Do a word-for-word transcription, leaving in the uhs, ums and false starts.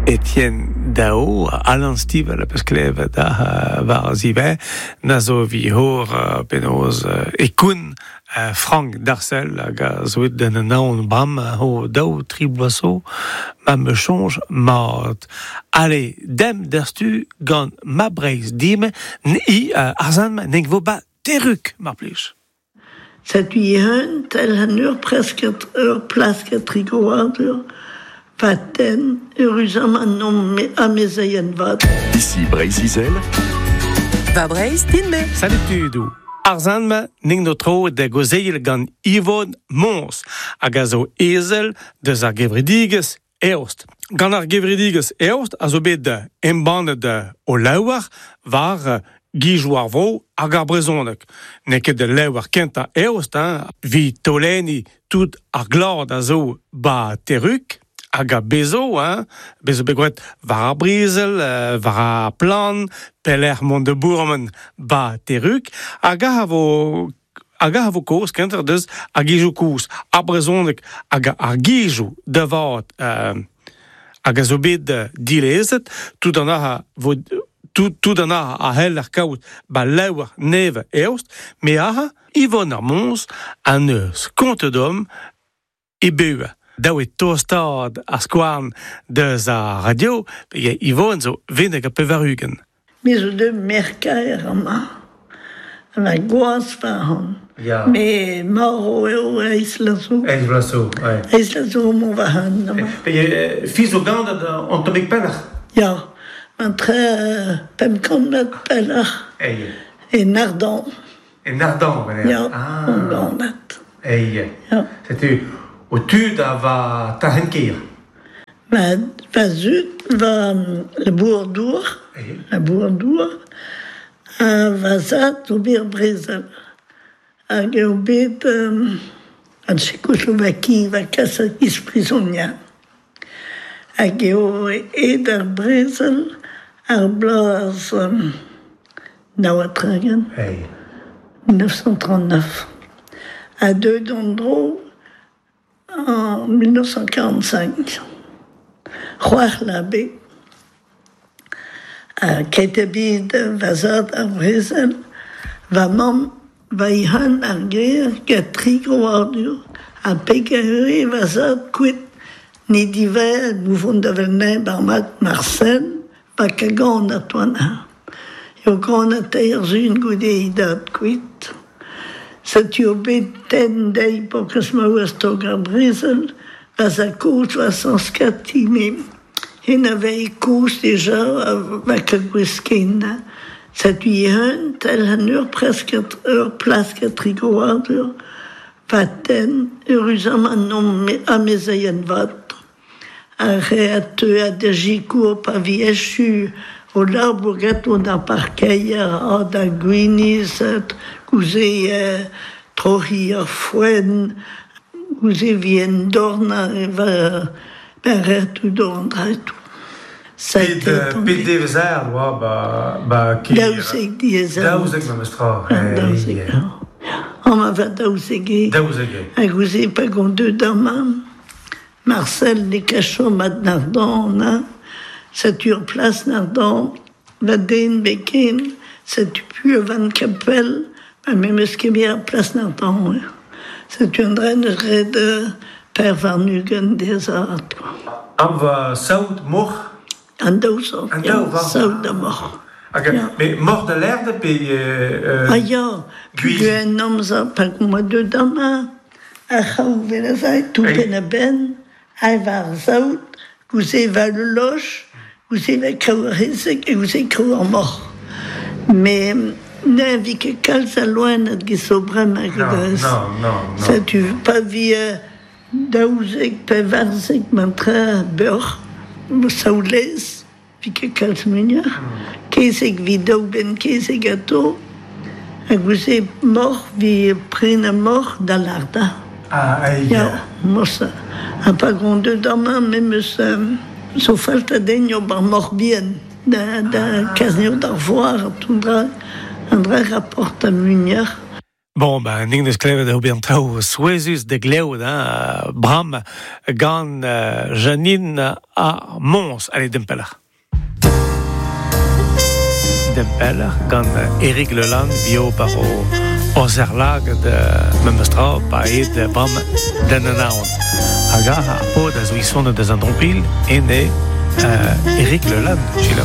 Etienne Dao, Alan Stivell a peus klevet da war zive, na zo vi hor penaos e koun Frank Darcel hag a zo et den an bram ho daou tri bloaso ma me chonj mat. Allez, dem derstu gant ma breiz dime i arzan ma neng vo ba teruk mar plij. Setu i hun tel han ur presket ur plasket trigoadur. Vaten, heureusement non amezeien vat. Ici Breizh-Izel. Va Breizh din-me. Salut tudou. Arzan ma ning no tro da gozeil gant Yvonne Mons hag a zo ezel deus ar gevredigezh Eost. Gant ar gevredigezh Eost a zo bet embannet o laouar war gijou ar vro hag ar brezhoneg. N'eo ket de laouar kentañ Eost, hein, vi toleni tout ar glad a zo ba teruk, hag a bezo, hein, bezo bet war ar brezel, war ar plan, pelec'h mont de bourmen ba teruk, hag a vo hag a vo koz kenter deus ar gijou koz, ar brezhoneg hag ar gijou da vat euh, hag a zo bet dilezet, tout an a vo tout, tout an a a hell ar kaout ba laouar neve eost, me a Yvonne ar Mons an eus konte d'homme e beua. Daou e tostad ar skouarn deus ar radio, pe Yvonne zo veneg a pevarugen. Me zo de merkaer ama. Ma gwaz fahan. Ja. Me maro eo eiz lazo. Eiz lazo, ouais. Eiz lazo mon vahan. Ama. Pe fiz o gant an tomik pellach? Ja, an tre pemp kant met pellach. Ei. E Nardan. E Nardan, venez. Ja, ah. on ganat. Ei. Ja. Setu o tud a va tahenkir. Va, va zut, va la bourdour, la bourdour, a va zat o bir brezel. Hag eo bet um, an Tchekoslovaki va kas a iz prizonia. Hag eo ed ar brezel ar bloaz um, naouatragen, Hey. mille neuf cent trente-neuf. A deux d'Andro en mille neuf cent quarante-cinq. C'hoar l'abbé. A ket ebet va zad ar brezel, va mamm va ihan ar ger gant tri groadur, ha peg a eure va zad kuit ne diver mouvont da vel bar mat Marcel, va ka gant a toan ha. Eo gant a teir zun goude i dad kuit. Setu o bet ten dei pokas ma oa stog ar brezel, va za koz va sans kati, me hen a vei koz deja va ka gwesken. Setu i hun tel han ur presket ur plasket trigoadur, va ten, heureusement non amezeien vat. Ar re a teu a de jikour pa vi echu o labour on ar parkeier a da gwiniz, gouze euh, trohi ar foen, gouze vi en dorna e va ben retou dorn dretou. Pet, pet devezer, oa, ba, ba kir... Daouzek diezer. Daouzek ma meus tra. Daouzek, ja. An ma va daouzek e. Daouzek e. Ha gouze pa gant deux damam. Marcel ne kacho mat nardan, na. Setu ur plas nardan, va den beken, setu pu van kapel, ma me meus ket ar plas nardan. Setu an dren eus red per varnugen dezat. An va saout mor? An daou saout, An daou, va. Saout da mor. Hag, ja. Me mor da lerde pe... Euh, ah ya, Gwiz. Guen amzer, pa gant ma deux dama, ar c'haou velazai, tout pen a ben, a var saout, gouze va le loch, gouze va kaou ar hezek, e gouze kaou ar mor. Me ne vi ket kalz a loen ad gis o brem hag Non, eus. non, non, non. Setu pa vi daouzek pe varzek man tre beur, saoulez, vi ket kalz muioc'h. Kezeg vi daou ben kezeg ato, hag gouze mor vi pren a mor da larda. Ah, ai. Ja, mosa. Ha pa gant deux dama, me meus euh, zo falt a den eo bar mor bien. Da, da ah. Kazneo d'ar voar, an dra, an dra rapport a muioc'h. Bon, ben, ning deus klevet eo bet an traoù souezhus de glev, hein, Bram, gant uh, Janine ar Mons. Allez, dempeller. Dempeller, gant Eric Leland, bio par o ozerlag de memestra, pa ed Bram den an aon. Hag ar ar pod a zo isonnet deus an drompil, ene uh, Eric Leland, chilaou.